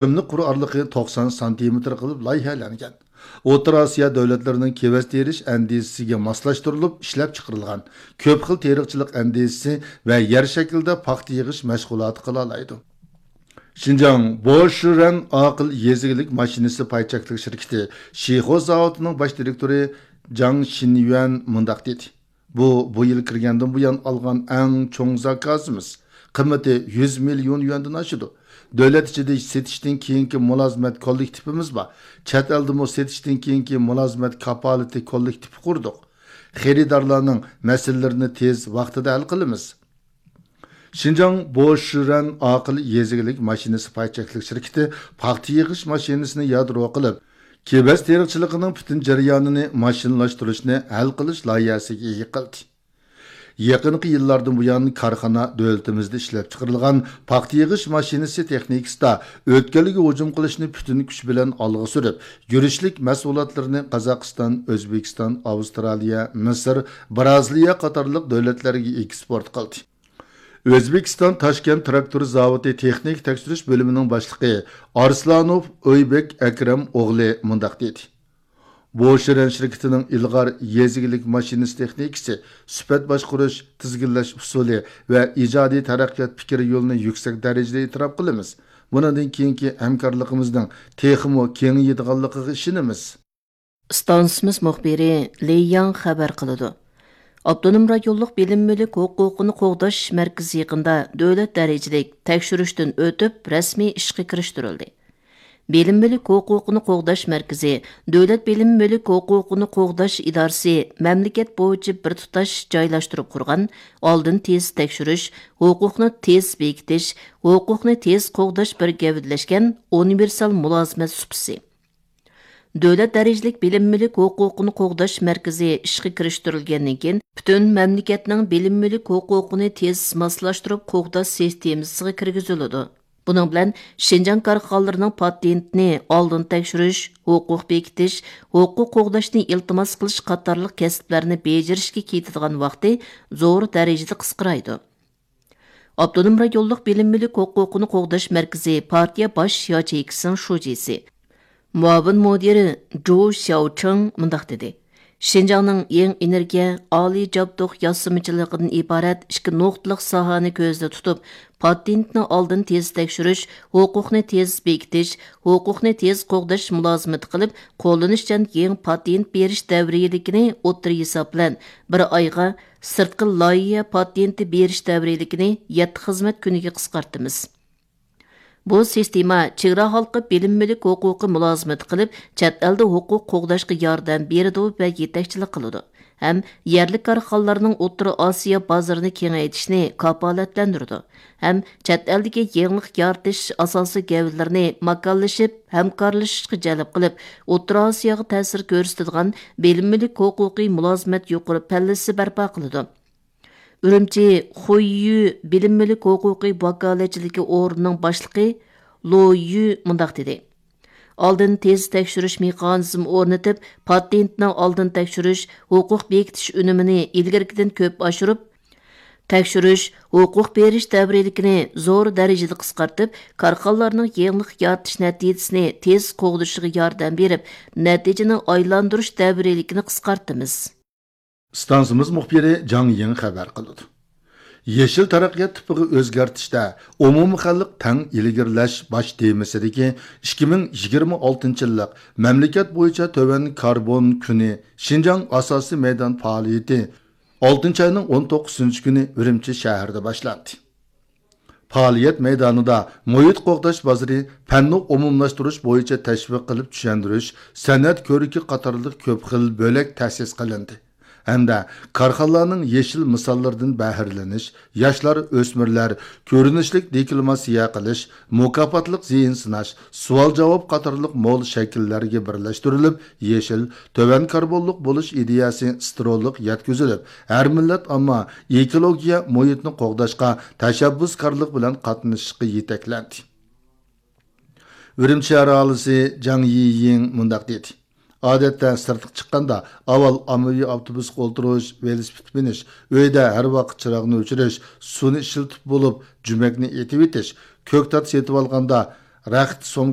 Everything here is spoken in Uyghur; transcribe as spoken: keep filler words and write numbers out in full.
ئۆملۈك قۇر ئارىلىقى توقسان سانتىمېتىر قىلىپ لايىھەلەنگەن. ئوتتۇرا ئاسىيا دۆلەتلىرىنىڭ كېۋەز تېرىش ئەندىزىسىگە ماسلاشتۇرۇلۇپ ئىشلەپچىقىرىلغان كۆپ خىل تېرىقچىلىق ئەندىزىسى ۋە يەر شەكلىدە پاختا يىغىش مەشغۇلاتى قىلالايدۇ. شىنجاڭ بوشۈرەن ئاقىل يېزا ئىگىلىك ماشىنىسى پاي چەكلىك شىركىتى شىخو زاۋۇتىنىڭ باش دىرېكتورى جاڭ شىنيۈەن مۇنداق دېدى: بۇ، بۇ يىل كىرگەندىن بۇيان ئالغان ئەڭ چوڭ زاكازىمىز. قىممىتى يۈز مىليون يۈەندىن ئاشىدۇ. دۆلەت ئىچىدە سېتىشتىن كېيىنكى مۇلازىمەت كوللېكتىپىمىز بار. چەت ئەلدىمۇ سېتىشتىن كېيىنكى مۇلازىمەت كاپالىتى كوللېكتىپى قۇردۇق. خېرىدارلارنىڭ مەسىلىلىرىنى تېز ۋاقتىدا ھەل قىلىمىز. شىنجاڭ بوشۈرەن ئاقىل يېزا ئىگىلىك ماشىنىسى پاي چەكلىك شىركىتى پاختا يىغىش ماشىنىسىنى يادرو قىلىپ، كېۋەز تېرىقچىلىقىنىڭ پۈتۈن جەريانىنى ماشىنىلاشتۇرۇشنى ھەل قىلىش لايىھەسىگە ئىگە قىلدى. يېقىنقى يىللاردىن بۇيان، كارخانا دۆلىتىمىزدە ئىشلەپچىقىرىلغان پاختا يىغىش ماشىنىسى تېخنىكىسىدا ئۆتكەلگە ھۇجۇم قىلىشنى پۈتۈن كۈچ بىلەن ئالغا سۈرۈپ، يۈرۈشلۈك مەھسۇلاتلىرىنى قازاقىستان، ئۆزبېكىستان، ئاۋسترالىيە، مىسىر، بىرازىلىيە قاتارلىق دۆلەتلەرگە ئېكسپورت قىلدى. ئۆزبېكىستان تاشكەنت تىراكتور زاۋۇتى تېخنىكا تەكشۈرۈش بۆلۈمىنىڭ باشلىقى ئارسلانوف ئۆيبېك ئەكرەم ئوغلى مۇنداق دېدى: بوشۈرەن شىركىتىنىڭ ئىلغار يېزا ئىگىلىك ماشىنىسى تېخنىكىسى، سۈپەت باشقۇرۇش، تىزگىنلەش ئۇسۇلى ۋە ئىجادىي تەرەققىيات پىكىر يولىنى يۈكسەك دەرىجىدە ئېتىراپ قىلىمىز. بۇنىڭدىن كېيىنكى ھەمكارلىقىمىزنىڭ تېخىمۇ كېڭىيىدىغانلىقىغا ئىشىنىمىز. ئىستانسىمىز مۇخبىرى لېي ياڭ خەۋەر قىلىدۇ. ئاپتونوم رايونلۇق بىلىم مۈلۈك ھوقۇقىنى قوغداش مەركىزى يېقىندا دۆلەت دەرىجىلىك تەكشۈرۈشتىن ئۆتۈپ، رەسمىي ئىشقا كىرىشتۈرۈلدى. بىلىم مۈلۈك ھوقۇقىنى قوغداش مەركىزى دۆلەت بىلىم مۈلۈك ھوقۇقىنى قوغداش ئىدارىسى مەملىكەت بويىچە بىر تۇتاش جايلاشتۇرۇپ قۇرغان ئالدىن تېز تەكشۈرۈش، ھوقۇقنى تېز بېكىتىش، ھوقۇقنى تېز قوغداش بىر گەۋدىلەشكەن ئۇنىۋېرسال مۇلازىمەت سۇپىسى. دۆلەت دەرىجىلىك بىلىم مۈلۈك ھوقۇقىنى قوغداش مەركىزى ئىشقا كىرىشتۈرۈلگەندىن كېيىن، پۈتۈن مەملىكەتنىڭ بىلىم مۈلۈك ھوقۇقىنى تېز ماسلاشتۇرۇپ قوغداش سىستېمىسىغا كىرگۈزۈلىدۇ. بۇنىڭ بىلەن شىنجاڭ كارخانىلىرىنىڭ پاتېنتنى ئالدىن تەكشۈرۈش، ھوقۇق بېكىتىش، ھوقۇق قوغداشنى ئىلتىماس قىلىش قاتارلىق كەسىپلەرنى بېجىرىشكە كېتىدىغان ۋاقتى زور دەرىجىدە قىسقىرايدۇ. ئاپتونوم رايونلۇق بىلىم مۈلۈك ھوقۇقىنى قوغداش مەركىزى پارتىيە باش ياچېيكىسىنىڭ شۇجىسى، مۇئاۋىن مۇدىرى جۇ شياۋچىڭ مۇنداق دېدى: شىنجاڭنىڭ يېڭى ئېنېرگىيە، ئالىي جابدۇق ياسىمىچىلىقىدىن ئىبارەت ئىككى نۇقتىلىق ساھەنى كۆزدە تۇتۇپ، پاتېنتنى ئالدىن تېز تەكشۈرۈش، ھوقۇقنى تېز بېكىتىش، ھوقۇقنى تېز قوغداش مۇلازىمىتى قىلىپ، قوللىنىشچان يېڭى پاتېنت بېرىش دەۋرىيلىكىنى ئوتتۇرا ھېساب بىلەن بىر ئايغا، سىرتقى لايىھە پاتېنتى بېرىش دەۋرىيلىكىنى يەتتە خىزمەت كۈنىگە قىسقارتىمىز. بۇ سىستېما چېگرا ھالقىپ بىلىم مۈلۈك ھوقۇقى مۇلازىمىتى قىلىپ، چەت ئەلدە ھوقۇق قوغداشقا ياردەم بېرىدۇ ۋە يېتەكچىلىك قىلىدۇ ھەم يەرلىك كارخانىلارنىڭ ئوتتۇرا ئاسىيا بازىرىنى كېڭەيتىشنى كاپالەتلەندۈرىدۇ ھەم چەت ئەلدىكى يېڭىلىق يارىتىش ئاساسىي گەۋدىلىرىنى ماكانلىشىپ، ھەمكارلىشىشقا جەلپ قىلىپ، ئوتتۇرا ئاسىياغا تەسىر كۆرسىتىدىغان بىلىم مۈلۈك ھوقۇقى مۇلازىمەت يۇقىرى پەللىسى بەرپا قىلىدۇ. ئۈرۈمچى خۇييۈ بىلىم مۈلۈك ھوقۇقى ۋاكالەتچىلىكى ئورنىنىڭ باشلىقى لو يۈ مۇنداق دېدى: ئالدىن تېز تەكشۈرۈش مېخانىزمى ئورنىتىپ، پاتېنتنىڭ ئالدىن تەكشۈرۈش، ھوقۇق بېكىتىش ئۈنۈمىنى ئىلگىرىكىدىن كۆپ ئاشۇرۇپ، تەكشۈرۈش، ھوقۇق بېرىش دەۋرىيلىكىنى زور دەرىجىدە قىسقارتىپ، كارخانىلارنىڭ يېڭىلىق يارىتىش نەتىجىسىنى تېز قوغدىشىغا ياردەم بېرىپ، نەتىجىنى ئايلاندۇرۇش دەۋرىيلىكىنى قىسقارتىمىز. ئىستانسىمىز مۇخبىرى جاڭ يىڭ خەۋەر قىلىدۇ. يېشىل تەرەققىيات تىپىغا ئۆزگەرتىشتە ئومۇمخەلق تەڭ ئىلگىرىلەش باش تېمىسىدىكى ئىككى مىڭ يىگىرمە ئالتىنچى يىللىق مەملىكەت بويىچە تۆۋەن كاربون كۈنى شىنجاڭ ئاساسىي مەيدان پائالىيىتى ئالتىنچى ئاينىڭ ئون توققۇزىنچى كۈنى ئۈرۈمچى شەھىرىدە باشلاندى. پائالىيەت مەيدانىدا مۇھىت قوغداش بازىرى، پەننى ئومۇملاشتۇرۇش بويىچە تەشۋىق قىلىپ چۈشەندۈرۈش، سەنئەت كۆرىكى قاتارلىق كۆپ خىل بۆلەك تەسىس قىلىندى ھەمدە كارخانىلارنىڭ يېشىل مىساللىرىدىن بەھرىلىنىش، ياشلار، ئۆسمۈرلەر، كۆرۈنۈشلۈك دېكلاماتسىيە قىلىش، مۇكاپاتلىق زېيىن سىناش، سوئال-جاۋاب قاتارلىق مول شەكىللەرگە بىرلەشتۈرۈلۈپ، يېشىل، تۆۋەن كاربونلۇق بولۇش ئىدىيەسى سترولۇق يەتكۈزۈلۈپ، ھەر مىللەت ئامما ئېكولوگىيە مۇھىتنى قوغداشقا تەشەببۇسكارلىق بىلەن قاتنىشىشقا يېتەكلەندى. ئۈرۈمچى شەھەر ئاھالىسى جاڭ يىيىڭ مۇنداق دېدى: ئادەتتە سىرتقا چىققاندا، ئاۋۋال ئاممىۋى ئاپتوبۇسقا ئولتۇرۇش، ۋېلىسىپىت مىنىش، ئۆيدە ھەر ۋاقىت چىراغنى ئۆچۈرۈش، سۇنى ئىشلىتىپ بولۇپ، جۈمەكنى ئېتىۋېتىش، كۆكتات سېتىۋالغاندا، رەخت، سوم